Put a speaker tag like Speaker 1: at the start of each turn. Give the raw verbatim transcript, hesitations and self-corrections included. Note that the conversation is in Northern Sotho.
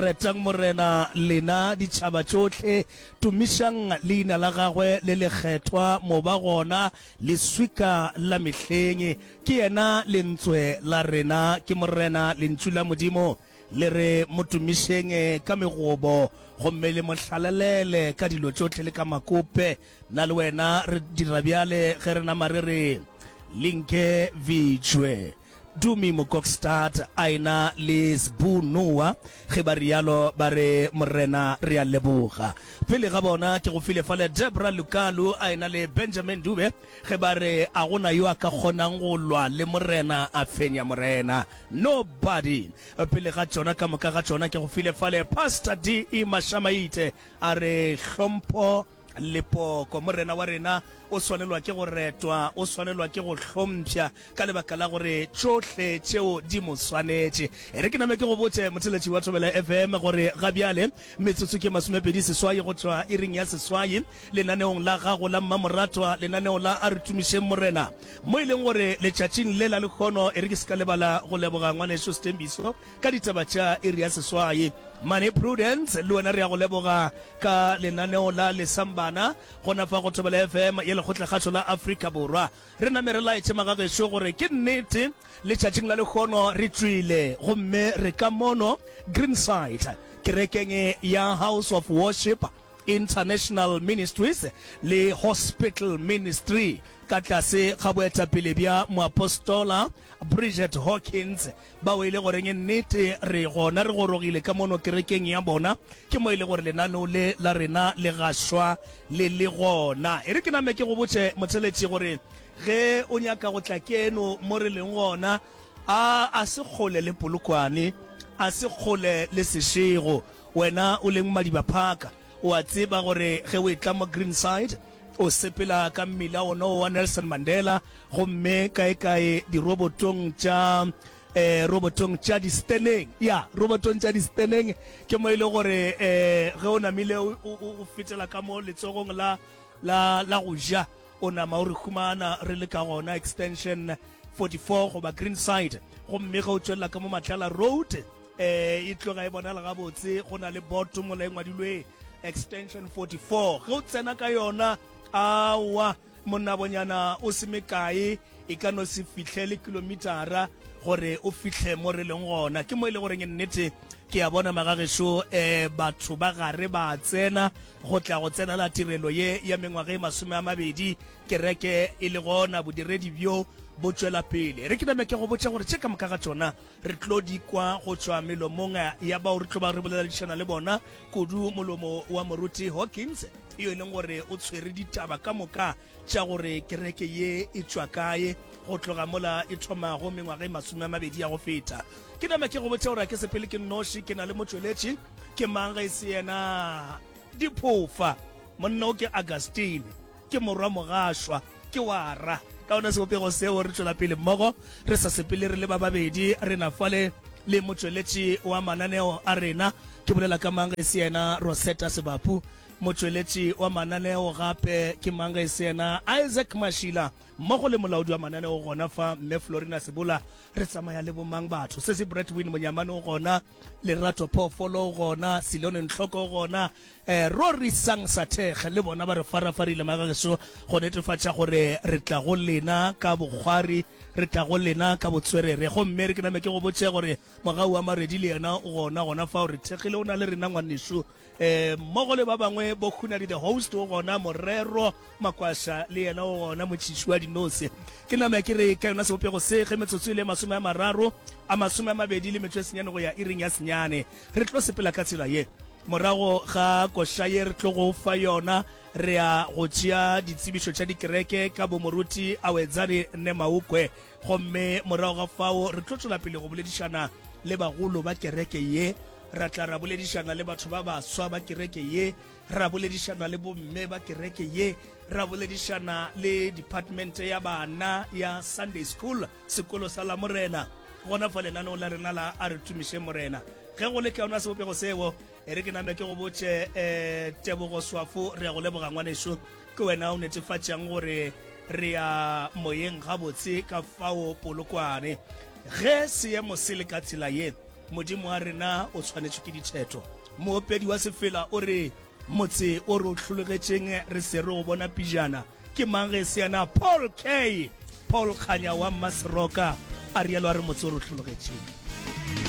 Speaker 1: Retang Morena, lena ditšhaba tšohle, tumišang leina la gagwe le lekgethwa, moba gona leswika la mehleng. Ke yena lentswe la rena, ke Morena, lentšu la Modimo le re mo tumišeng ka megobo, gomme le mo hlalelele ka dilo tšohle le ka makope. Nna le wena re dira bjale ge re nama re re, Linke vitšwe. Dumi Mokokstad a ena le Sbu Noah, ge ba realo ba re, Morena, re a leboga. Pele ga bona ke go file fale Debra Lukalu a ena le Benjamin Dube, ge ba re, A go na yo a ka kgonang go lwa le Morena a fenya Morena? Nobody. Pele ga tšona ka moka ga tšona ke go file fale Pastor D E Mashamaite a re, Hlompho Lepoko. Morena wa rena o swanelwa ke go retwa, o swanelwa ke go hlompšha ka lebaka la gore tšohle tšeo di mo swanetše. E re ke name ke go botše, motheeletši wa Thobela F M, gore ga bjale metsotso ke masomepedi seswai go tšwa iring ya seswai lenaneong la gago la mmamoratwa, lenaneo la A Re Tumišeng Morena, mo e leng gore letšatšing le la lehono, e re ke se ka lebala go leboga ngwanešu Sthembiso ka ditaba tša iri ya seswai. Mane Prudence, le wena re a go leboga ka lenaneo la Lesambana gona fa go Thobela F M ya Lekgotlakgašo la Afrika Borwa. Re name re laetše magagešo gore ke nnete letšatšing la lehono re tšwile gomme re ka mono Greenside kerekeng ya House of Worship International Ministries le Hospital Ministry ka tlase ga boetapele bja Moapostola Bridget Hawkins, bao e le goreng nnete re gona re gorogile ka mono kerekeng ya bona, ke mo e le gore lenaneo le la rena le gašwa le le gona. E re ke name ke go botše motheletši gore ge o nyaka go tla keno mo re leng gona, a a se kgole le Polokwane, a se kgole le Seshego. Wena o leng Madiba Park, o a tseba gore ge o etla mo Greenside, o sepela ka mmila wona wa Nelson Mandela, gomme kaekae dirobotong tša eh, robotong tša disteneng, ya robotong tša disteneng, ke mo e le gore eh, ge o namile o, o, o fetela ka mo letsogong la, la, la go ja, o nama o re humana re le ka gona Extension forty-four goba Greenside. Gomme ge o tšwelela ka mo Matlala Road, eh, e tloga e bonala gabotse, go na le boto mola e ngwadilwe Extension forty-four. Ge o tsena ka yona, aowa monnabonyana o se mekae, e ka no se fihle le kilometara gore o fihle mo re leng gona. Ke mo e le goreng nnete ke a bona magagešo, eh, batho ba gare ba tsena go tla go tsenela tirelo ye ya mengwaga e masome a mabedi kereke e le gona, bodiredi bjo bo tšwela pele. Re ke name ke go botša gore tše ka moka ga tšona re tlo di kwa go tšwa melomong ya bao re tlo ba re boledišana le bona, kudu molomo wa Moruti Hawkins, yo e leng gore o tshwere ditaba ka moka tša gore kereke ye e tšwa kae go tloga mola e thomago mengwaga e masome a mabedi ya go feta. Ke name ke go botša gore a ke sepele ke nnoši, ke na le motšweletši, ke mang ge e se yena Diphofa, monna o ke Augustine, ke morwa Mogašwa, ke wara. Ka ona sebopego seo re tšwela pele mmogo, re sa sepele re le ba babedi, re na fale le motšweletši wa mananeo a rena, ke bolela ka mang ge e se yena Rosetta Sebapu, motšweletši wa mananeo gape ke mang ge e se yena Isaac Mashila, mmogo le molaodi wa mananeo gona fa Mme Florina Sebola. Re tsamaya le bomang batho? Sesi Bradwin Monyamane o gona, Lerato Phoofolo o gona, Silone Ntlhoko o gona, eh, Rory Sang Sathekge le bona ba re farafarile magageso go netefatša gore re tla go lena ka bokgwari, re tla go lena ka botswerere. Gomme re ke name ke go botše gore Mogau wa Maredi le yena o gona gona fao, re thekgile, o na le rena ngwanešu, eh, mmogo le ba bangwe bo Khunadi the host o gona, Morero Makwasha le yena o gona, motšhiši wa dinose. Ke name ke re ka yona sebopego se, ge metsotso e le masome a mararo a masome a mabedi le metšo e senyane go ya iring ya senyane, re tlo sepela ka tsela ye. Morago ga koša ye re tlo go fa yona, re ya go tšea ditsebišo tša dikereke ka bomoruti Awedzane Nemaukwe, gomme morago ga fao re tlo tšwela pele go boledišana le bagolo ba kereke ye, ra tla ra boledišana le batho ba baswa ba kereke ye, ra boledišana le bomme ba kereke ye, ra boledišana le department ya bana ya Sunday School, sekolo sa Lamorena, gona fa lenaneo la rena la A Re Tumišeng Morena. Ge go le ka yona sebopego seo, e re ke name ke go botše, eh, Tebogo Swafo, re ya go leboga ngwanešu, ke wena o netefatšang gore re ya moyeng gabotse ka fao Polokwane. Ge seemo se le ka tsela ye, Modimo wa rena o swanetšwe ke ditheto. Moopedi wa sefela o re, Motse o re o hlologetšeng re se re o bona pejana, ke mang ge e se yena Paul K. Paul Kganya wa Mmaseroka, a realo a re motse o re o hlologetšeng.